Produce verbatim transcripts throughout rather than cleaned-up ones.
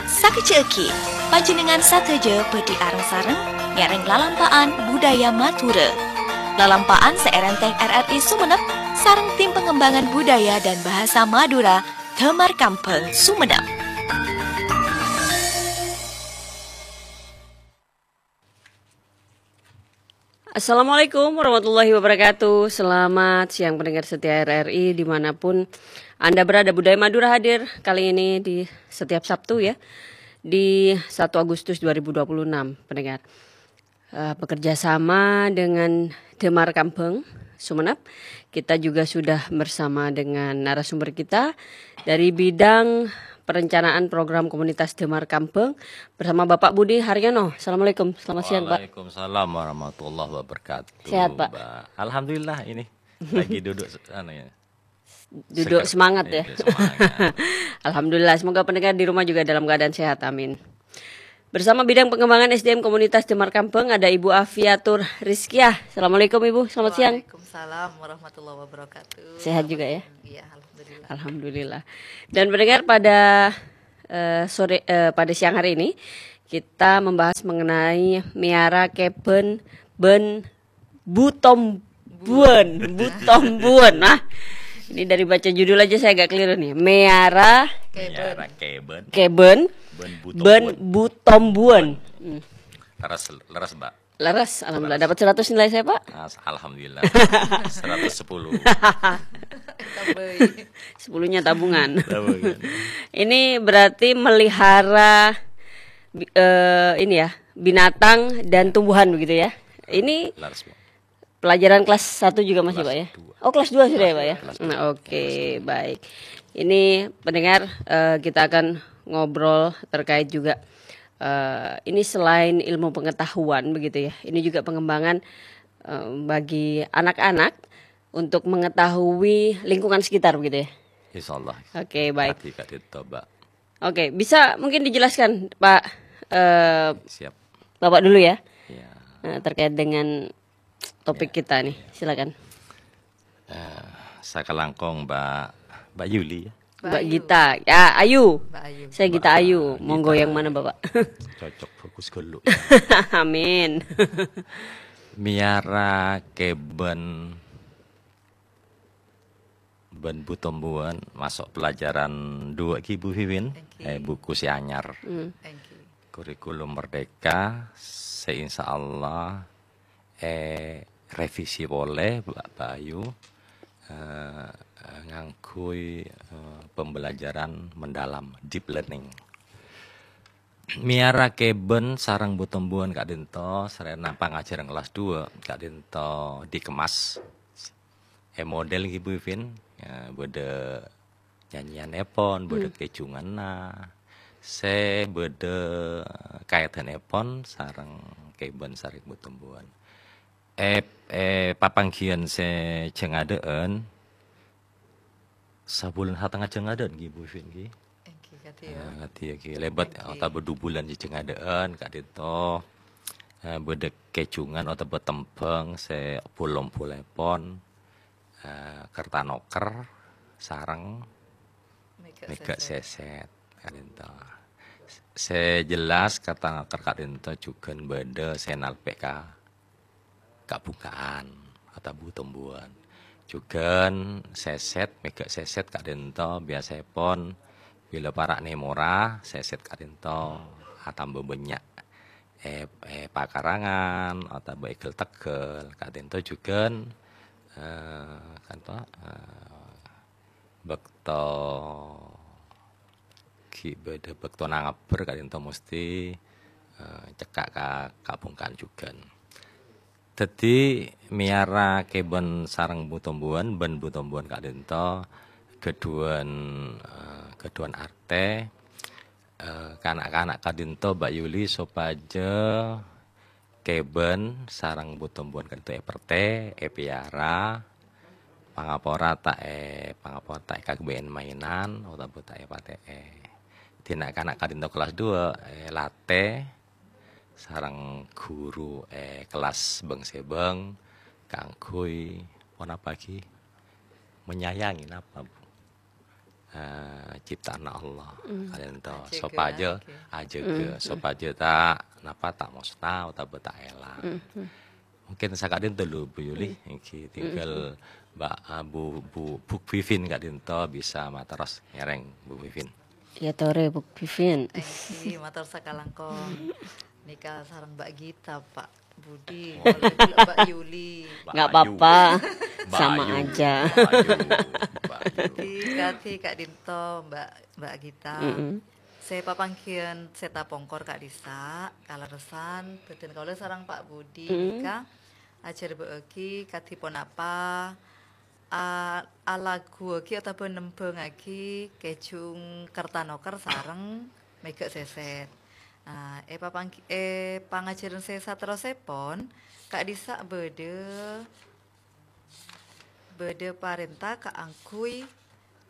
Sakejjhâ'âghi, panjhennengngan sadhâjâ bhâdhi areng-sareng ngèrèng lalampa'an budaya Madhurâ. Lalampa'an sè èrèntèng R R I Sumenep sareng Tim Pengembangan Budaya dan Bahasa Madura, Damar Kambhâng, Sumenep. Assalamualaikum warahmatullahi wabarakatuh. Selamat siang pendengar setia R R I dimanapun Anda berada. Budaya Madura hadir kali ini di setiap Sabtu ya, di satu Agustus dua ribu dua puluh enam, pendengar. Eh, bekerja sama dengan Damar Kambhâng, Sumenep. Kita juga sudah bersama dengan narasumber kita dari bidang perencanaan program komunitas Damar Kambhâng bersama Bapak Budi Haryono. Assalamualaikum, selamat siang, Pak. Waalaikumsalam warahmatullahi wabarakatuh, Sehat, Pak? Mbak. Alhamdulillah, ini lagi duduk se-, anu ya. Duduk seger. Semangat ya. Iya, semangat. Alhamdulillah, semoga pendengar di rumah juga dalam keadaan sehat. Amin. Bersama bidang pengembangan S D M komunitas Damar Kambhâng ada Ibu Afiatur Rizkiah. Assalamualaikum, Ibu, selamat siang. Waalaikumsalam warahmatullahi wabarakatuh. Sehat juga ya? Iya, alhamdulillah. Alhamdulillah. Dan pendengar, pada, eh, sore, eh, pada siang hari ini kita membahas mengenai miara kèbhân bân butombuwân, butombuwân. Nah, ini dari baca judul aja saya agak keliru nih. Miara Kèbhân. Miara kèbhân. Kèbhân Bân bân butombuwân. Butombuwân. Hmm. Leres, leres, Mbak. Leres, alhamdulillah. Leres. Dapat seratus nilai saya, Pak? As-, alhamdulillah. Seratus sepuluh. Tambahi. Sepuluhnya tabungan. Tabungan. Ini berarti melihara bi-, eh, ini ya, binatang dan tumbuhan begitu ya. Ini Leres, Bu. Pelajaran kelas satu juga masih, Pak, ya? Kelas dua. Oh, kelas dua sudah ya, Pak, ya? Kelas dua. Nah, oke, baik. Ini pendengar, eh, kita akan ngobrol terkait juga, eh, ini selain ilmu pengetahuan begitu ya, ini juga pengembangan, eh, bagi anak-anak untuk mengetahui lingkungan sekitar begitu ya? Insya Allah. Oke, baik. Hati Kak Dito, Mbak. Oke, bisa mungkin dijelaskan, Pak, eh, Siap. Bapak dulu ya, Iya. eh, terkait dengan topik Iya, kita nih, iya. Silakan. Eh, sakalangkong Mbak, Mbak Yuli ya. Mbak Mbak Ayu. Gita. Ya, Ayu. Mbak Ayu. Saya Gita Mbak Ayu. Monggo Gita. Yang mana, Bapak? Cocok, bagus ghâllu. Amin. Miara kèbhân bân butombuwân maso' pelajaran dua ghi, Bu Wiwin. Thank you. Eh, buku sè anyar. Hmm. Thank you. Kurikulum Merdeka sè insya Allah, eh, revisi polè, Mbak Ayu, eh, ngangghuy, eh, pembelajaran mendalam, deep learning. Miara kèbhân sareng butombuwân ka'dinto, sarèna pangajhârân kelas dua ka'dinto dikemas. È model ghi, Bu Wiwin, eh, bâdâ nyanyèyannèpon, bâdâ Hmm. kèjhunganna, sè bâdâ kaèdhânèpon sareng kèbhân sareng butombuwân. È, è papangghiyân sè jhângadâ'ân, sabulân satengnga jhângadâ'ân ghi, Bu Wiwin ghi. Èngghi, kadhi ya. Eh, kadhi ya ghi. Lèbât Èngghi. Otabâ du bulân sè jhângadâ'ân, ka'dinto, eh, bâdâ kèjhungan otabâ tembhâng sè pol-ompolèpon, eh, Kertanoker sareng Mèghâ' Mèghâ' Sèsèt. Sèsèt, ka'dinto. Sè jelas, Kertanoker ka'dinto jhughân bâdâ sè nalpè ka kabhungka'an otabâ butombuwân. Jhughân Sèsèt, Mèghâ' Sèsèt ka'dinto biyasaèpon bilâ para' nèmora, Sèsèt ka'dinto atamba bânnya'. È, è pakarangan otabâ è ghâl-tegghâl ka'dinto jhughân, eh, kanto, eh, bâkto ghi' bâdâ bâktona ngabbher ka'dinto mesti, eh, cekka' ka kabhungka'an jhughân. Dhâddhi, mèyara kèbhân sareng butombuwân, bân butombuwân ka'dinto ghâdhuwân, eh, ghâdhuwân artè, eh, ka na'-kana' ka'dinto, Mbak Yuli, sopajâ kèbhân sareng butombuwân ka'dinto èpertè, èpèyara, pangapora ta' è, pangapora ta' èkaghâbây mainan otabâ ta' èpatè'è. Dina' kana' ka'dinto kelas dua, èlatè sareng ghuru è kelas bâng-sèbâng kaangghuy ponapa ghi? Menyayangi napa, Bu? eh, ciptaanna Allah. Mm. Ka'dinto, ajâgâ, sopajâ ajâgâ. Ajâgâ, mm, mm, sopajâ ta', napa, ta' mosna otabâ ta' èlang. Mm, mm. Mungkin saka'dinto lu, Bu Yuli. Mm. Èngghi, mm, tinggal, mm, Mbak, ah, Bu, Bu, Bu Vivin ka'dinto bisa materros ngèrèng, Bu Vivin. Ya, torè, Bu Vivin. Èngghi, mator sakalangkong. Nèka sareng Mbak Gita, Pak Budi, oh, polè ghulâ Mbak Yuli. Mbak Nggak Ayu. Apa-apa. Mbak Sama Ayu. Aja. Mbak Ayu. Mbak Ayu. Di kadhi ka'dinto, Mbak, Mbak Gita. Mm-mm. Sè papangghiyân sè tapongkor ka'dhissa', kalerressan, bhâdhân kaulâ sareng Pak Budi, mm, nèka ajhârbâ'âghi kadhi ponapa, a-, alaghuwâghi otabâ nembhângngaghi Kèjhung Kertanoker sareng Mèghâ' Sèsèt. Nah, è papanggi-, è pangajhârân sè saterrossèpon, ka'dhissa' bâdâ, bâdâ parènta kaangghuy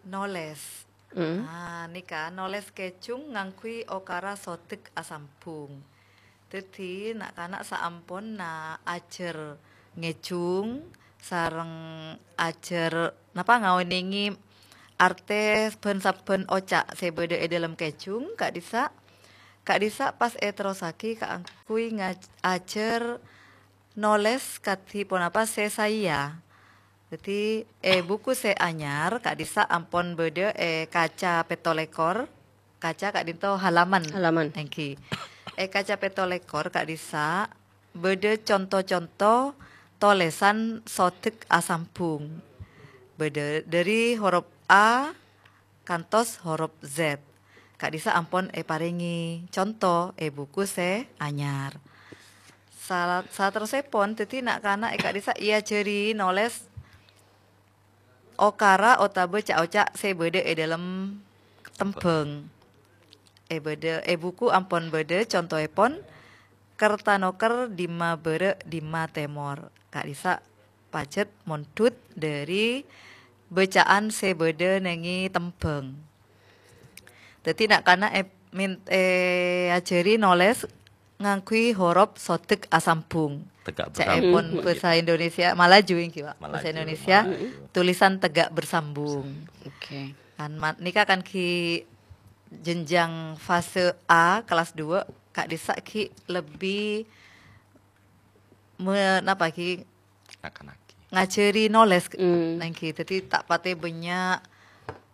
nolès. Mm. Ah, nèka nolès Kèjhung ngangghuy okara sodhek asambhung. Dhâddhi, na'-kana' saamponna ajhâr ngèjhung sareng ajhâr, napa, ngaonèngè artè bân sabbhân oca' sè bâdâ è dhâlem Kèjhung, ka'dhissa', ka'dhissa' pas èterrossaghi kaangghuy ngaj-, ajhâr nolès kadhi ponapa sè saèya. Dhâddhi, è buku sè anyar, ka'dhissa' ampon bâdâ è kaca pètto lèkor, kaca ka'dinto halaman. Halaman. Èngghi. È kaca pètto lèkor ka'dhissa' bâdâ conto-conto tolèsan sodhek asambhung. Bâdâ dhâri horop A kantos horop Z. Ka'dhissa' ampon èparèngè conto è buku sè anyar. Sa-, saterrossèpon, dhâddhi na'-kana' è ka'dhissa' èajhâri nolès okara otabâ ca'-oca' sè bâdâ è dhâlem tembhâng. È bâdâ, è buku ampon bâdâ contoèpon, Kertanoker dimma bârâ' dimma tèmor. Ka'dhissa' pajhât mondhut dhâri bâcaan sè bâdâ nèngè tembhâng. Dhâddhi, na'-kana' è-, min-, èajhâri nolès ngangghuy horop sodhek asambhung. Tegak bersambung. Ca'èpon, mm, bhâsa Indonesia, Malaju, èngghi, Pak. Bhâsa Malaju, Indonesia, Malaju. Tulisan tegak bersambung. Oke. Kan ma-, nèka kan ghi' jenjang fase A, kelas dua, ka'dhissa' ghi' lebbi me-, napa ghi' Akan-akan. Ngajhâri nolès, mm, èngghi. Dhâddhi ta' patè bânnya'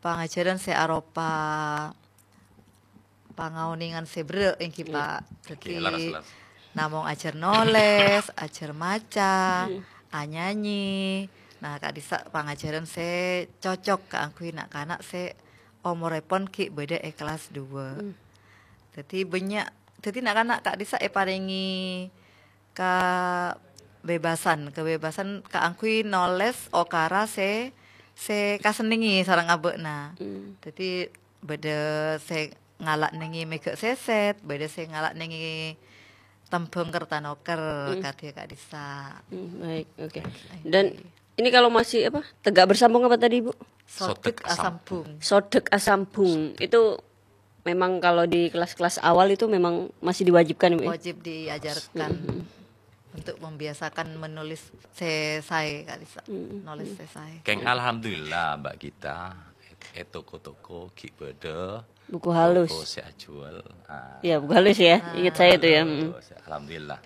pangajhârân sè aropa pangaonèngan sè berrâ', èngghi, iya, Pak. Oke, dhâddhi, laras, laras. Namong ajhâr nolès, ajhâr maca, mm, anyanyi. Nah, ka'dhissa' pangajhârân sè cocok kaangghuy na'-kana' sè omorèpon ghi' bâdâ è kelas dua. Mm. Dhâddhi bânnya', dhâddhi na'-kana' ka'dhissa' èparèngè kabebasan, kabebasan kaangghuy nolès okara sè, sè kasennengngè sareng abâ'na. Hmm. Dhâddhi, bâdâ sè ngala' nèngè mèghâ' sèsèt, bâdâ sè ngala' nèngè tembhâng kertanoker, hmm, kadhi ka'dhissa'. Hmm, baik, oke. Oke. Dan ini kalau masih apa? Tegak bersambung apa tadi, Bu? Sodhek asambung. Sodhek asambung. Itu memang kalau di kelas-kelas awal itu memang masih diwajibkan, Bu, ya? Wajib diajarkan. Mm-mm. Untuk membiasakan menulis sè saè, Kak Lisa. Mm-mm. Nulis sè saè. Kèng alhamdulillah, Mbak Gita, è toko-toko ghi' bâdâ buku halus. Toko sè ajhuwâl. Ah. Iya, buku halus ya. Ah. Ingat saya itu ya. Mm. Halus, alhamdulillah.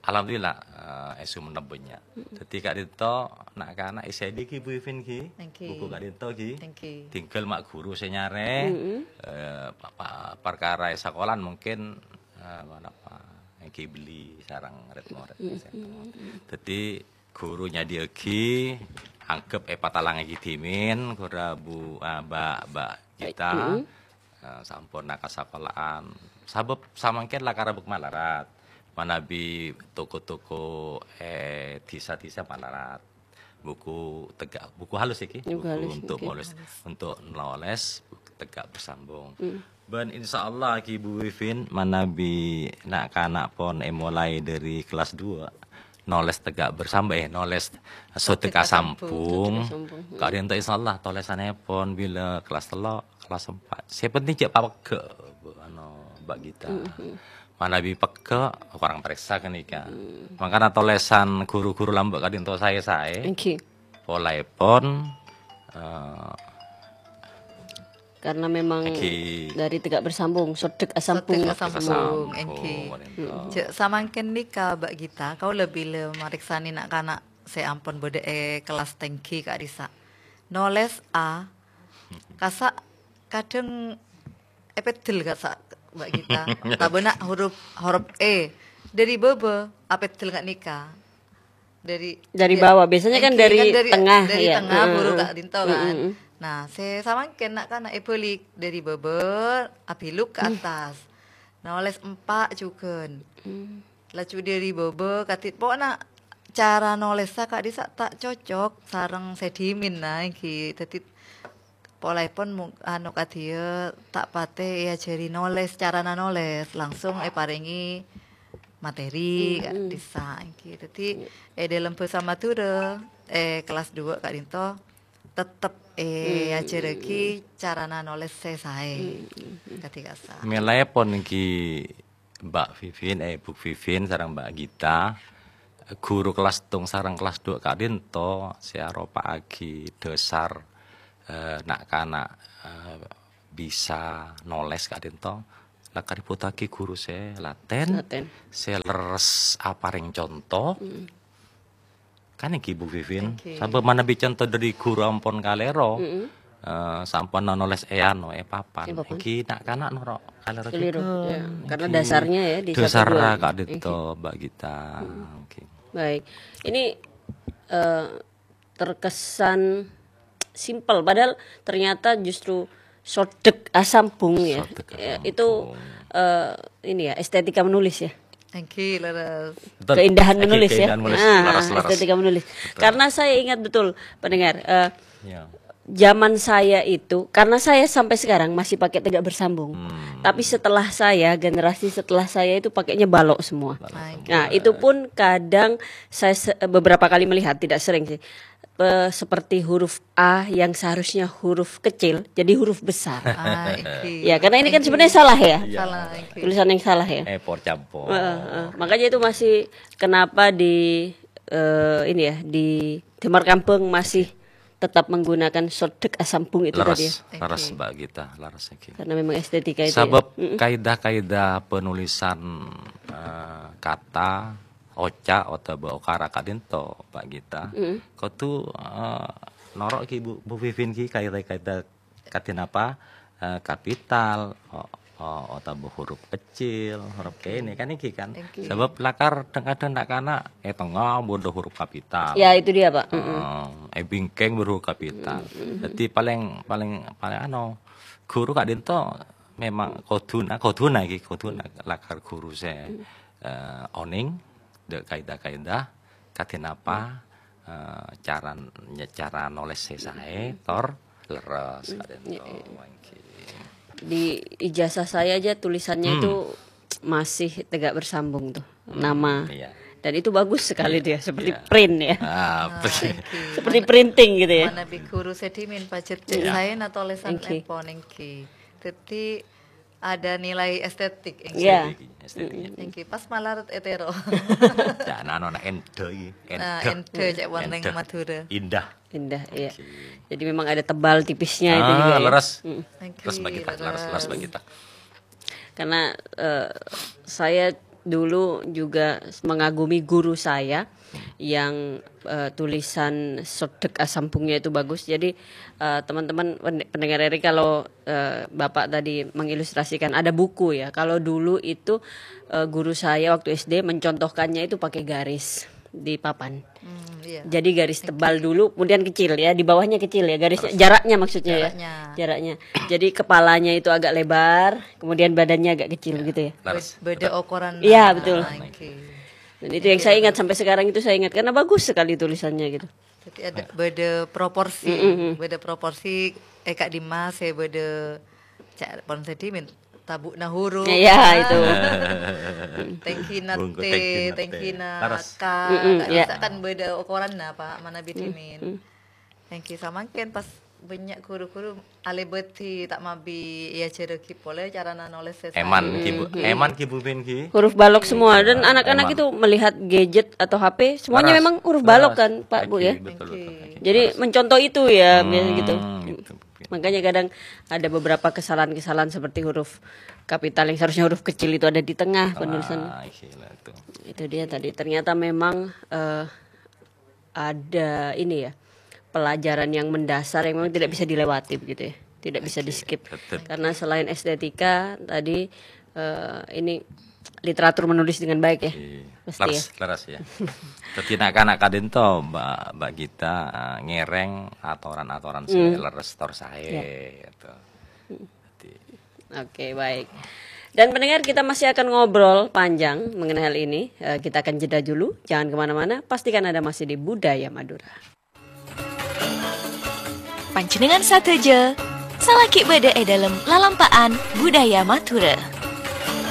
Alhamdulillah, eh, è Sumenep bânnya'. Mm-mm. Dhâddhi ka'dinto na'-kana' èsèdi ghi, Bu Ivin ghi. Èngghi. Buku ka'dinto ghi. Èngghi. Tinggal ma' ghuru sè nyarè, mm-mm, eh, pa-, pa-, parkara è sakolan mungkin, eh, napa, èngghi bellè sareng rèd-morèd. Mm-mm. Dhâddhi ghuru nyadhiyâaghi, anggep èpatalangaghi dhimèn, ghuru Bu, ah, Mbak, Mbak Gita. Mm-mm. Eh, samponna kasakolaan. Sabâb samangkèn la karabâk malarat. Manabi toko-toko, eh, dhisa-dhisa malarat. Buku tegak, buku halus iki. Buku halus, untuk oke. Nulis, untuk nulis buku tegak bersambung. Hmm. Bân insyaallah iki Bu Wivin manabi na'-kana' pon èmolaè dhâri kelas dua. Nulis tegak bersambung, eh, nulis sodhek asambung. Sodhek asambung. Ka'dinto insyaallah tolèsanèpon bilâ kelas tello'. Kelas empat. Sè penting jhâ' papeggâ', Bu, anu, Mbak Gita. Mm-hmm. Manabi peggâ', korang parèksa ghânèka. Mm. Mangkana tolèsan ghuru-ghuru lambâ' ka'dinto saè-saè. Èngghi. Polèpon, eh, Karena memang Oke. dari tegak bersambung, sodek asambung. Sodek asambung, Asambung, engghi. Rinto. Cek samangken nika, Mbak Gita, kaula bilâ mareksane na'-kana' se ampon badha e kelas tenggi ka'dhissa'. Noles A, kassa' kadheng epeddel kassa', Mbak Gita. Tabâna huruf, huruf E. Dari bâbâ, apeddel nga' nika. Dari, Dari ya, bawah. Biasanya kan engghi, dari kan dari, tengah, dari ya. Tengah, buru Heeh. ka'dhinto, kan. Mm-mm. Nah, se samangken na'-kana' ebalik dari bâbâ, abiluk ke atas. Noles empa' jugan. Mm. Laju dari bâbâ, kadhi-, pokokna cara nolessa ka'dhissa' ta' cocok sareng se dhimin, nah, engghi. Daddi, Polaepon mu-, anu, kadhiya ta' pate eajari noles, carana noles, langsung eparenge materi, Mm-mm. ka'dhissa' engghi. Daddi, Iya. e dhalem basa Madhurâ, e kelas dua ka'dhinto, tettep Mm. eajarragi carana noles se sae. Mm-mm. Kadhi kassa'. Melaepon engghi Mbak Vivin, eh, Bu Vivin sareng Mbak Gita, guru kelas tong sareng kelas dua ka'dhinto se aropa'agi dhasar, eh, na'-kana', eh, bisa noles ka'dhinto, la kaributtagi guru se laten, Laten. se lerres apareng conto, Mm. Kan engghi, Bu Vivin, Engghi. sabâb manabi conto dhâri guru ampon kalèro, Mm-mm. eh, sampon nolès è ano, è papan. È papan. Engghi na'-kana' noro' kalèro Keliru. juga. Ya, karena Engghi. dasarnya ya di satu Dasarnya dua. ka'dhinto, Engghi. Mbak Gita. Mm-mm. Engghi. Baik. Ini, eh, terkesan simpel, padahal ternyata justru sodek asambung ya. Sodek Ya, itu, asambung. eh, ini ya, estetika menulis ya. Engghi, leres. Betul. Keindahan Engghi, menulis ya. keindahan menulis. Ah, Laras, laras. estetika menulis. Betul. Karena saya ingat betul, pendengar, eh, Ya. zaman saya itu, karena saya sampai sekarang masih pakai tegak bersambung. Hmm. Tapi setelah saya, generasi setelah saya itu pakainya balok semua. Balok Nah, semua. itu pun kadang saya se-, beberapa kali melihat, tidak sering sih. Eh, seperti huruf A yang seharusnya huruf kecil, jadi huruf besar. Ah, engghi. Ya, karena ini kan Engghi. sebenarnya salah ya. Iya. Salah, engghi. Tulisan yang salah ya. Eh, por campur. Heeh, heeh. Makanya itu masih kenapa di, eh, ini ya, di Damar Kambang masih tetap menggunakan sodek asambung itu Leres, tadi ya. leres, Engghi. Mbak Gita, leres engghi. Karena memang estetika itu ya. Sabab Mm-mm. kaidah-kaidah penulisan, eh, kata, oca' otabâ okara ka'dhinto, Mbak Gita, Mm-mm. kodhu, eh, noro' ghi, Bu, Bu Vivin ghi, kaidah-kaidah kadhi napa, eh, kapital, o-, o-, otabâ huruf kecil, huruf Oke. kene, kan engghi kan. Engghi. Sabab lakar dhâng-kadhâng na'-kana' è tengnga bâdâ huruf kapital. Ya, itu dia, Pak. Mm-mm. Eh, è bingkèng bâdâ huruf kapital. Mm-mm. Jadi paling, paling, paling anu, guru ka'dhinto memang kodhuna, kodhuna ghi, kodhuna lakar guru sè, Mm. eh, onèng dâ' kaidah-kaidah kadhi napa, eh, cara, cara nolès sè saè, tor lerres, Mm, kadhinto, iya, iya. mangkèn. Di ijazah saya aja tulisannya Hmm. itu masih tegak bersambung tuh, Hmm, nama. iya. Dan itu bagus sekali Iya, dia, seperti iya. print ya. Ah, Ah, print. engghi. Seperti Mana, printing gitu ya. manabi guru sè dhimin pajhât cè' Iya. saèna tolèsan Engghi. èpon engghi. Dhâddhi, ada nilai estetik, engghi. Iya. Estetik, estetik. Mm-mm. Engghi, pas malarat ètèro. Ya, nah, no, nah, endâ iki. Nah, Endâ. endâ, cek wong neng Endâ. Madhurâ. Indah. Indah, iya. Oke. Jadi memang ada tebal tipisnya itu Ah, juga ya. leres. Mm. Engghi, Leres, Mbak Gita, leres, leres, Mbak leres. Gita. Karena, eh, saya dulu juga mengagumi guru saya yang, eh, tulisan sodek asambungnya itu bagus. Jadi, eh, teman-teman pen-, pendengar R R I, kalau, eh, Bapak tadi mengilustrasikan ada buku ya. Kalau dulu itu, eh, guru saya waktu S D mencontohkannya itu pakai garis di papan. Hmm, iya. Jadi garis Oke. tebal dulu, kemudian kecil ya, di bawahnya kecil ya, garis Terus jaraknya maksudnya ya. jaraknya. Jaraknya. Jadi kepalanya itu agak lebar, kemudian badannya agak kecil Ya, gitu ya. leres. Bed-, beda Betul. ukuran. Iya, betul. Ah, oke. Dan itu yang saya ingat sampai sekarang itu saya ingat karena bagus sekali tulisannya gitu. Jadi ada Ya. beda proporsi, Mm-mm. beda proporsi, eh, Kak Dimas ya beda cak pon sedimin tabu nahuru. Iya, itu. Tengkina Bungku T, tengkina T. tengkina Laras. K. Mm-mm, Kak ya. Dimas kan beda ukuran nah, Pak, mana Mm, bidimin. mm. Thank you samangken pas banyak guru-guru alebeti tak mabi ya jeregi pole carana nulis sesai. Eman ki, Bu. Mhm. Eman ki, Bu Min ki. Huruf balok semua dan Iya, anak-anak emang. itu melihat gadget atau H P, semuanya Laras. memang huruf balok Laras. kan, Pak, Bu, Oke, ya? betul, betul. Oke. Oke. Jadi Laras. mencontoh itu ya, biasa gitu. Hmm, gitu, Bu Min. Makanya kadang ada beberapa kesalahan-kesalahan seperti huruf kapital yang seharusnya huruf kecil itu ada di tengah penulisan. Ah, iya lah itu. Itu dia tadi. Ternyata memang, eh, ada ini ya, pelajaran yang mendasar yang memang tidak bisa dilewati begitu ya. Tidak bisa di-skip. Betul. Karena selain estetika tadi, eh, ini literatur menulis dengan baik ya. Iya. Pasti leres, ya. Leres ya. Dadi na'-kana' ka'dinto, Mbak, Mbak Gita, eh, ngèrèng atoran-atoran sè leres tor saè, gitu. Dadi Oke, baik. Dan pendengar, kita masih akan ngobrol panjang mengenai hal ini. Eh, kita akan jeda dulu, jangan kemana-mana. Pastikan Anda masih di Budaya Madura. Panjhennengngan sadhâjâ, salaghi bâdâ è dâlem lalampa'an budaya Madhurâ.